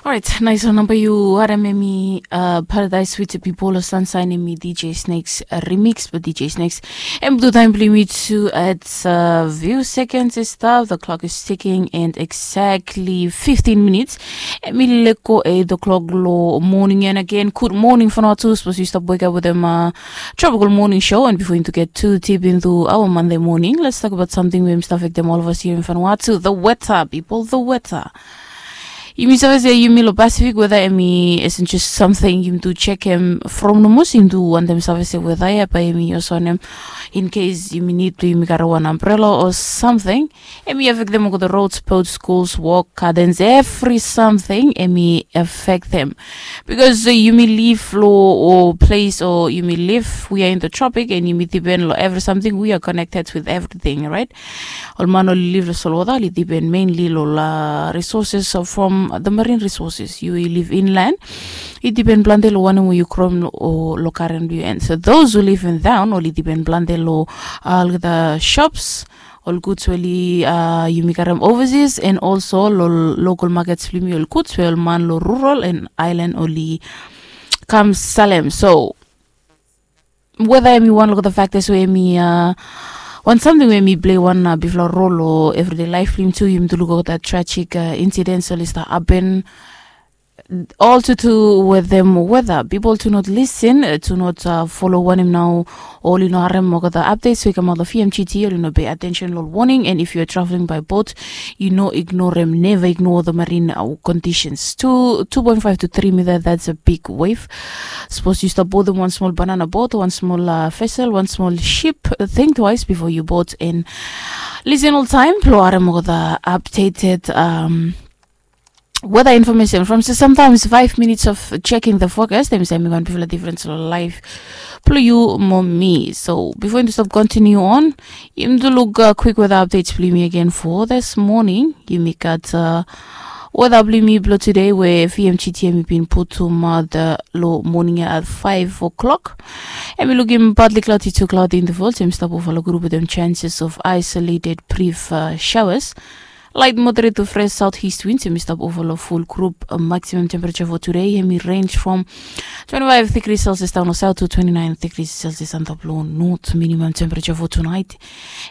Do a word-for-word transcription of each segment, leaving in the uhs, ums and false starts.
Orait, nais wan namba yu harem, em i Paradise with Pipolo Sunshine, em i D J Snakes remix. But D J Snakes, em tu taim bilong mi tu at few seconds is stop. The clock is ticking and exactly fifteen minutes. Em i leko eight o'clock lo morning. And again, good morning for now too. Suppose you stop wake up with them uh, tropical morning show. And before you to get too deep into our Monday morning, let's talk about something we must affect them all of us here in Vanuatu. The weather, people, the weather. Yumi save se yumi lo Pacific weather em i esensial samting yumi tu chekem from nomo se yumi tu wantem save se weather ya bai yumi use wanem in case yumi nid tu yumi gat wan umbrella o samting. Em i affectem olgeta roads, boats, schools, work, gardens, every samting em i affectem. Because uh, yumi live lo o place o yumi live, we are in the tropic and yumi depend lo every samting, we are connected with everything, right? Ol man oli live lo solwota oli depend mainly lo la resources from the marine resources. Yu i live inland, i depend plante lo wanem we yu krom o lo karen blong yu. And so those who live in town oli depend plante lo olgeta shops, ol goods we oli uh, yumi karem overseas, and also lo local markets blong yumi, ol goods we ol man lo rural and island oli kam salem. So weather em i wan olgeta factors we em i uh, wan samting we em i play wan uh, bigfala role lo everyday life blong yumi tu. Yumi tu luk olgeta tragic uh, incidents oli stap happen. All to do with them weather. People do not listen, uh, do not uh, follow wanem nao. Oli no harem olgeta updates we i kamaot lo V M G T, oli no pay attention lo warning. And if you are traveling by boat, you no ignorem, never ignore the marine uh, conditions. Two, two point five to three meter, that's a big wave. Suppose you stop boardem wan small banana boat, wan small uh, vessel, wan small ship, uh, think twice before you board and listen all time. Lo harem olgeta updated um, weather information from so sometimes five minutes of checking the forecast. Em save mekem bigfala difference lo life blong yu mo mi. So before yumi stop continue on, yumi tu luk uh, quick weather updates blong yumi again for this morning. Yumi gat uh, weather blong yumi blong today we V M G T em i bin putum uh, the lo morning at five o'clock. Em i lukim partly cloudy to cloudy intervals. Em i stap ova lo group with them chances of isolated brief uh, showers. Light moderate to fresh southeast winds em i stap ova lo full group. Uh, maximum temperature for today em i range from twenty-five degrees Celsius down lo south to twenty-nine degrees Celsius antap lo north. Minimum temperature for tonight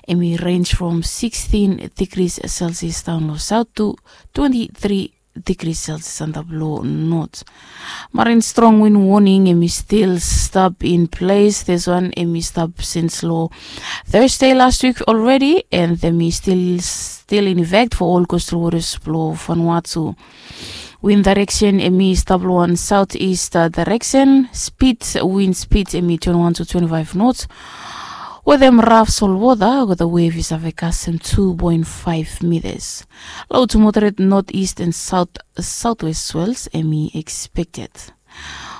em i range from sixteen degrees Celsius down lo south to twenty-three degrees Celsius antap lo north. Marine strong wind warning em i still stap in place. This one em i stap since lo Thursday last week already, and em i still still in effect for all coastal waters blo Vanuatu. Wind direction em i stap lo wan southeast uh, direction. Speed, wind speed em i twenty-one to twenty-five knots. Wetem raf solwota olgeta wave i save kasem two point five meters. Low to moderate northeast and south southwest swells em i expected.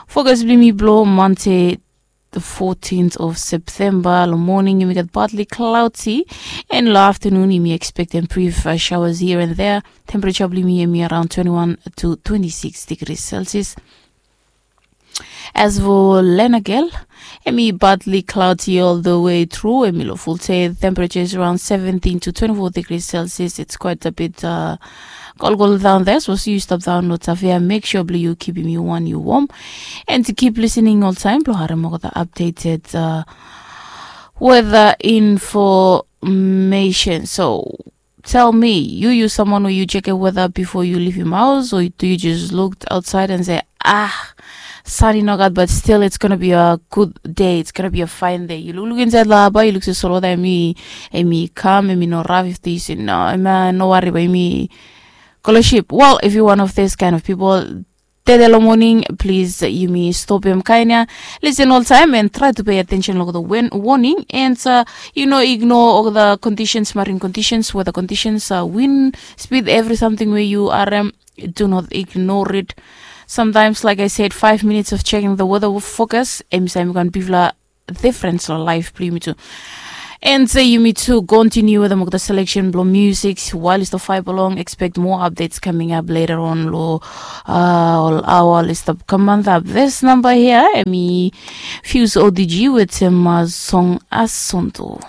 Forecast blong yumi blo Monday the fourteenth of September, lo morning yumi gat partly cloudy, and lo afternoon yumi expectem brief uh, showers here and there. Temperature blong yumi em i around twenty-one to twenty-six degrees Celsius. As for Lenagel, em i partly cloudy all the way through. Em i lo full day, temperature is around seventeen to twenty-four degrees Celsius. It's quite a bit uh, cold, cold down there. So see you stop down lo Tafea. Make sure blong yu kipim yu wan yu warm. And to keep listening all time, blo harem olgeta updated uh, weather information. So tell me, yu yu someone we yu chekem weather before yu leavim house, or do you just looked outside and say, ah, sun i nogat, but still it's gonna be a good day, it's gonna be a fine day? Yu lukluk insaed lo haba, yu luk se solwota em i em i kam, em i no raf, if they say no, em i no wari, bai yumi go lo ship. Well, if you one of this kind of people, tede lo morning, please yumi stopem kaen ya. Listen oltaem and try to pay attention lo olgeta warning, and uh, you know, ignore olgeta conditions, marine conditions, weather conditions, uh, wind speed, every something we yu harem, do not ignore it. Sometimes, like I said, five minutes of checking the weather forecast em i save mekem bigfala difference lo life blong yumi tu. And say yumi tu continue wetem olgeta selection blo music while yu stap vibe along. Expect more updates coming up later on lo uh, ol aoa oli stap kam antap. This number here em i Fuse O D G wetem uh, song Asunto.